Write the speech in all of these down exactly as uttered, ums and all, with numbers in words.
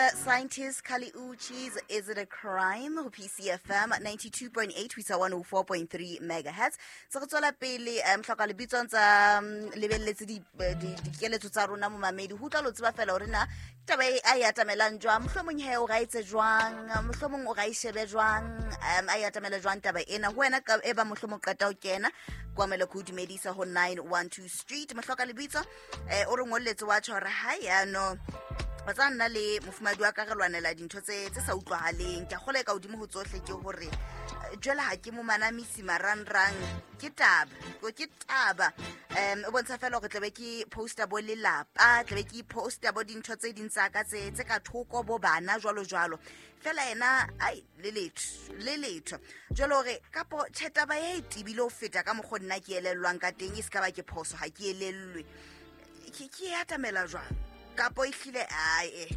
The Scientist, Kali Uchis, Is It a Crime? Ho P C F M ninety-two point eight ho isa one oh four point three megahertz. Se re tswela pele, um, hloka lebitso ntsa, um, lebelletse di, di, dikeletso tsa rona momamedi. Ho utlwa lo tseba fela hore na taba e a e atamelang jwang, mohlomong he o ra etse jwang, mohlomong o ra e shebe jwang, um, a e atamela jwang taba ena. Ho wena ka, e ba mohlomong qeta ho kena, kwamele ko dumedisa ho nine one two Street. Mohloka lebitso, eh, o re ngolletse wa tjho hore ha ya no ba tsa nna le mofumadi wa ka re lwanela dintho tse, tse sa utlwahaleng. Ke a kgolwa e ka hodimo ho tsohle ke hore, eh, jwale ha ke mo manamisi marangrang, ke taba, ko ke taba. Em, o bontsha fela hore tlabe ke poster bo lelapa, tlabe ke poster bo dintho tse ding tsa ka tse, tse ka thoko bo bana jwalo jwalo. Fela yena, ai, le letho, le letho. Jwale hore kapo tjhe taba e tebile ho feta ka mokgo nna ke elellwang ka teng, e se ka ba ke phoso, ha ke elellwe. Ke, ke e atamela jwang? Kapo e hlile, ai, eh,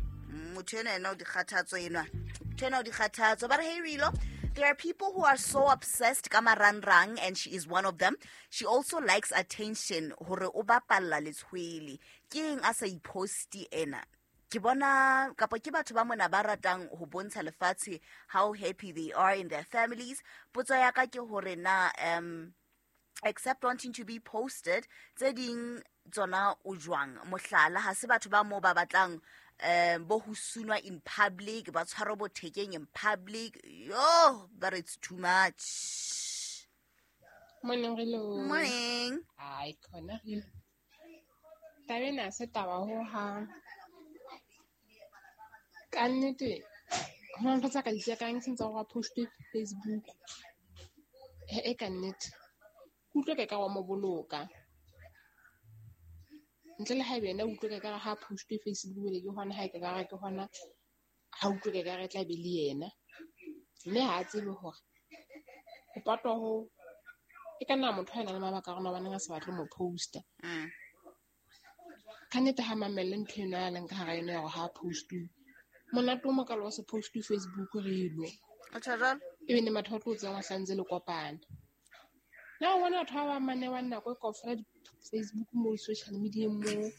motho enwa ena o dikgathatso enwa. Motho enwa o dikgathatso. Ba re, hey, Rilo, there are people who are so obsessed ka marangrang, and she is one of them. She also likes attention, hore o bapalla letshwele. Ke eng a sa iposti ena? Ke bona, kapo ke batho ba mona ba ratang ho bontsha lefatshe how happy they are in their families. Potso ya ka ke hore na, um, except wanting to be posted, tse ding tsona o jwang? Mohlala, ha se batho ba moo ba batlang, um, bo ho sunwa in public, ba tshwarwe bo thekeng in public. Yo, but it's too much. Morning, Rilo. Morning. Ai, khona Rilo. Taba ena ha se taba ho hang. Ka nnete, ho na le ntho tsa ka di tjekang se ntse hore a post-e Facebook. He, e ka nnete. Ke utlwe ka ekare wa mo boloka. Ntle le haebe yena o utlwe ka ekare ha post-e Facebook le ke hona ha e ka ekare ke hona ha utlwe ka ekare e tla be le yena. Mme ha a tsebe hore ho patwa ho e ka nna motho a nang le mabaka a rona hobaneng a sa batle mo post-a. Mm. Ka nnete ha mamelle ntho eno a leng ka hara yona ya hore ha post-uwe. Monate o mokalo wa se post-uwe Facebook re elo. O tjho jwalo? Ebe ne batho ba tlo tsebang ho hlantse le kopana. Na o bona batho ba bang mane ba nako e kaofela di Facebook mo, social media mo,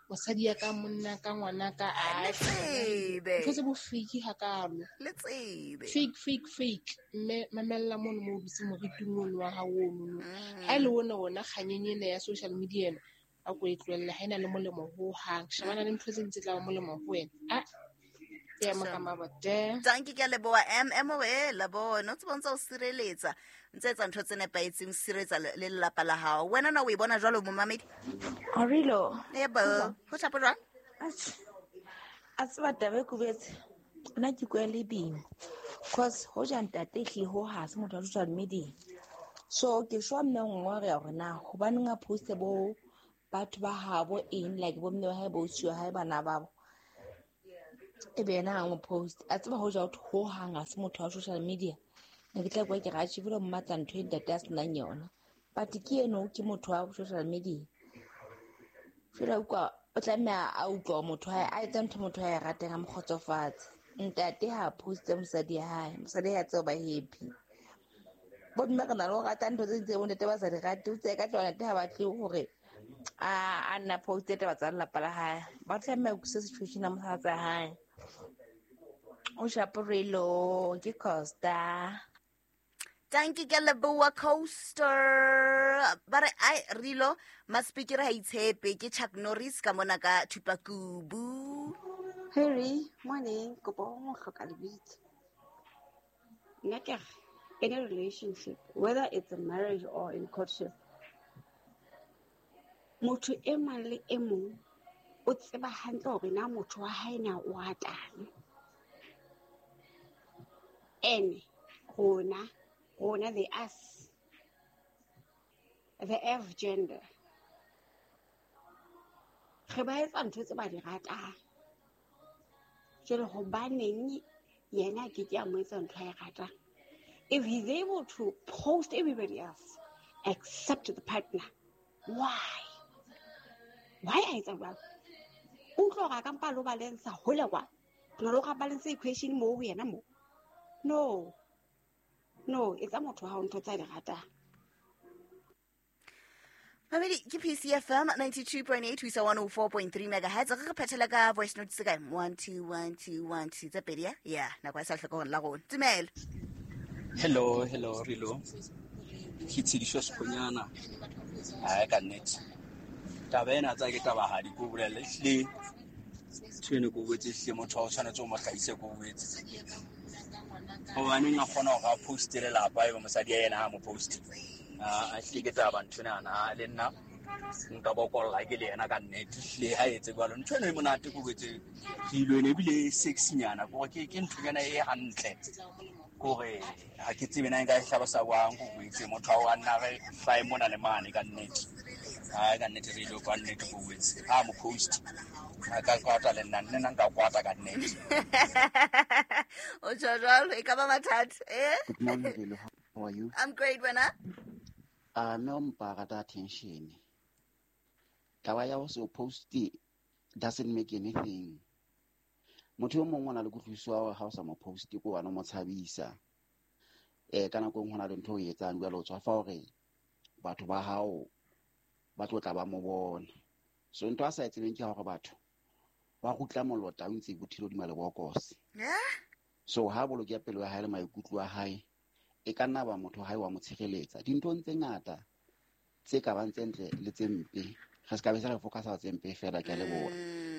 mosadi ya ka, monna ka, ngwana ka, Le ai, tsebe. ntho tse bo fake hakalo. Le tsebe. Fake, fake, fake. Mme mamella mono mo o dutse moriting ono wa hao ono no. Mm. Ha e le ona ona kganyeng ena ya social media ena, a ko e tlohelle, ha ena le molemo hohang. Shebana le ntho tse ding tse tla ba molemo ho wena. Ah, ke ema ka mabote. Tanki ke a leboha. M, M o e la bona. O tseba o ntse o sireletsa. Ntse etsa ntho tse nepahetseng, o sireletsa le, le lelapa la hao. Wena na o e bona jwalo, momamedi? Arilo. Yebo. Ho tjhapo jwang? Atjhe. A tseba taba e kubetse. Nna ke kwa le bing. Cause hoja ntate ehlile ho ha se motho wa social media. So ke shwa mme nngwe re hore na hobaneng a poste bo batho ba habo eng, like bo mme wa hae, bo ausi wa hae, bana babo. E be yena ha mo post. A tseba hoja ho ho hang ha se motho wa social media. Ne ke tla kwa ke ra tjhe bile mmatla ntho e ntate a senang yona. But ke eno ke motho wa social media. Jwale utlwa o tlameha a utlwa motho wa hae, a etsa ntho motho wa hae ratang, a mo kgotsofatse. Ntate ha poste mosadi ya hae, mosadi ya tseo ba happy. Bo mme re na le ho rata ntho tse ding tse bo ntate ba sa di rate. O tseye ka tloha ntate ha batle hore a, a nna poste taba tsa lelapa la hae. Ba tlameha ho utlwisisa situation ya mohatsa hae. O shaporelo ke Costa. Tanki ke leboha Coaster. Ba re ai Rilo Maspeaker ha itshepe ke Chuck Norris ka mona ka Thupakubu. Harry, morning, kopo ho hloka lebitso. Nna ke re, in a relationship, whether it's a marriage or in courtship, motho e mang le e mong o tseba hantle hore na motho wa hae na o ratang. Ene rona, rona the us, the F gender, re ba etsa ntho tse ba di ratang. Jwale hobaneng yena a ke ke a mo etsa ntho a e ratang? If he's able to post everybody else except the partner, why? Why a etsa jwalo? O utlwa hore a ka mpa lo balance hole kwa. Na lo ka balance equation mo ho yena mo. No. No, etsa motho wa hao ntho tsa di ratang. Mamedi ke P C F M ninety-two point eight ho isa one oh four point three megahertz. Re re phethela ka voice note se kae? one two one two one two tse pedi ya? Yeah, nako ya sa hloka hore la rona. Tumelo. Hello, hello, Rilo. Ke Tshediso Sekgonyana. Ai ka nnete. Taba ena tsa ke taba ha di ko bolelle ehlile. Ntho eno ko botse ehlile motho wa o tshwanetse o mo hlahise ko botse. Hobaneng a kgona hore a poste lelapa ebe mosadi ya yena ha mo poste. Ah, ehlile ke taba ntho ena le nna nka bokolla ke le yena ka nnete ehlile ha etse jwalo. Ntho eno e monate ko botse. Dilo ene ebile sexy-nyana kore ke ke nthonyana e hantle. Kore ha ke tsebe na nka e hlalosa jwang ko botse motho wa nna re hlae mona le mane ka nnete. Ai ka nnete re ile ka nnete ko botse. Ha mo post a ka kwata le nna nna nka kwata ka nnete. O tjho jwalo e ka ba mathata eh? Good morning, Lelo. How are you? I'm great, wena. Ah, no mpa rata attention. Taba ya ho se post doesn't make anything. Motho o mongwe o na le kutlwisiso ya hore ha o sa mo post ko wena o mo tshabisa. Eh ka nako e nngwe ho na le ntho o e etsang jwale o tswafa hore batho ba hao ba tlo tla ba mo bona. So ntho a sa e tsebeng ke hore batho ba rutla molota o ntse bothile hodima lebokose. Yeah. So ha boloke pelo ya hae le maikutlo a hae e ka nna ba motho hae wa mo tshireletsa. Dinthong tse ngata tse ka bang tse ntle le tse mpe. Re se ka be sa re focusa tse mpe fela, ke a leboha.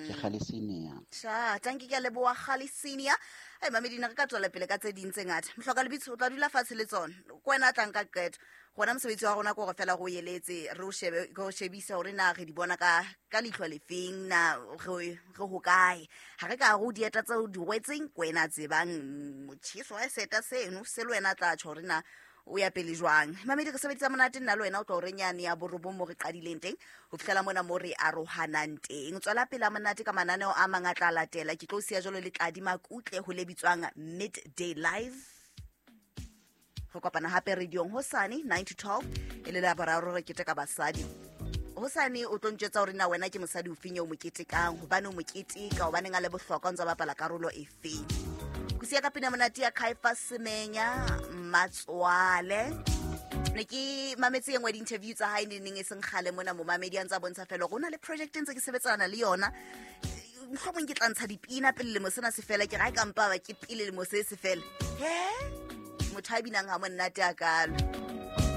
Ke Kgale Senior. Cha, tanki ke a leboha Kgale Senior. Ai mamedi na re ka tswela pele ka tse ding tse ngata. Mohloka lebitso o tla dula fatshe le tsona. Ke wena a tlang ka qeto. Rona mosebetsi wa rona ke hore fela re o eletse, re o shebe, re o shebise hore na re di bona ka ka leihlo lefeng, na re re hokae. Ha re ka re o dieta tseo di rwetseng, ke wena a tsebang motjheso wa seta seno se le wena a tla tjho hore na o ya pele jwang. Mamedi re sebedisa monate nna le wena o tlo re nyane ya borobong mo re qadileng teng ho fihlela mona mo re arohanang teng. Tswela pele monate ka mananeo a mang a tla latela. Ke tlo siya jwalo le Tladi Makutle ho le bitswang Midday Live. Re kopana hape radiong hosane nine to twelve e le la boraro re keteka basadi. Hosane o tlo ntjwetsa hore na wena ke mosadi o feng eo mo ketekang, hobane o mo keteka, hobaneng a le bohlokwa, o ntse a bapala karolo efeng. Go sia ka pina monate ya Kaifa Semenya Matswale. Ne ke mametse e nngwe di-interview tsa hae ne neng e seng kgale mona momamedi a ntse a bontsha fela hore ho na le project e ntse ke sebetsana le yona. Mohlomong ke tla ntsha dipina pele lemo sena se fela, ke re ha e ka mpa ba ke pele lemo se se fela. He? Motho a binang ha monate a kalo.